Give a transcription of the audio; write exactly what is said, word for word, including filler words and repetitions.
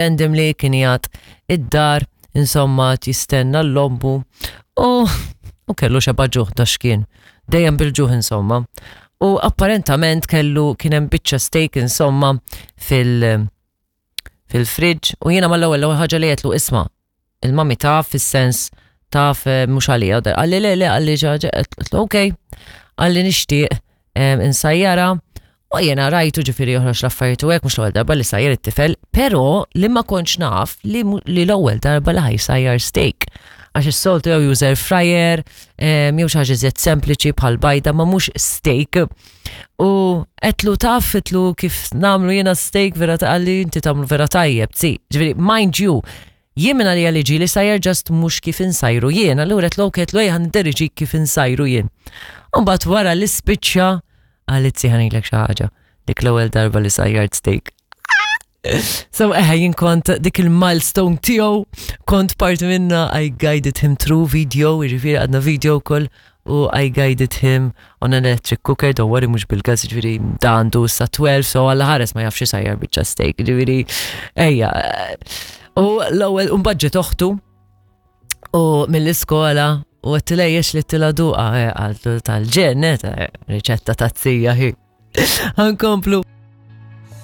Randomly kien jgħat id-dar, insomma, jistenna l-lombu u, u kellu xeba ġuħ da xkien. Dejjem bil-ġuħ insomma. U apparentament kellu kien hemm biċċa steak insomma fil- fil-fridge u jiena mal-ewwel l-ewwel ħaġa li għedtlu isma' il-mami taf fis-sens taf eh, mhux għalija. Qalli le le qalli ġaġa, għedtlu ok, qalli nixtieq em, insajjara u jiena rajtu ġifieri joħroġ l-affarijiet u hekk mhux l-ewwel darba li sajjar it-tifel, però li ma kontx naf li mu- li l-ewwel darba li ħa jsajjar steak. Għax is-soltu jew juża air fryer, em, jew xi ħaġa iżjed sempliċi bħal bajda ma mhux steak. U għedtlu taf, għedtlu kif nagħmlu jiena steak vera ta' qalli inti tagħmlu vera tajjeb, si. Ġifieri, mind you, jien minn għalija li ġieli sajjar just mhux kif insajru jien, allura għedtlu ok, għedtlu ejja ħa kif insajru jien. Umbagħad wara li spiċċa qalli ħa ngħidlek xi ħaġa, dik l-ewwel darba li sajjart steak. So eħe jien kont dik il-milestone tiegħu, kont parti minna, I guided him through video, jiġifieri għadna video call u I guided him on an electric cooker, don't worry mhux bil-gas, ġifieri da għandu sa tnax, so għalla ħares ma jafx sajjar biċċa steak, ġifieri ejja. U l-ewwel un-budget oħtu u mill-iskola u għedtilha jiex li tila duqa, għaltu tal-ġennet, riċetta ta' zija hi. Ħa nkomplu.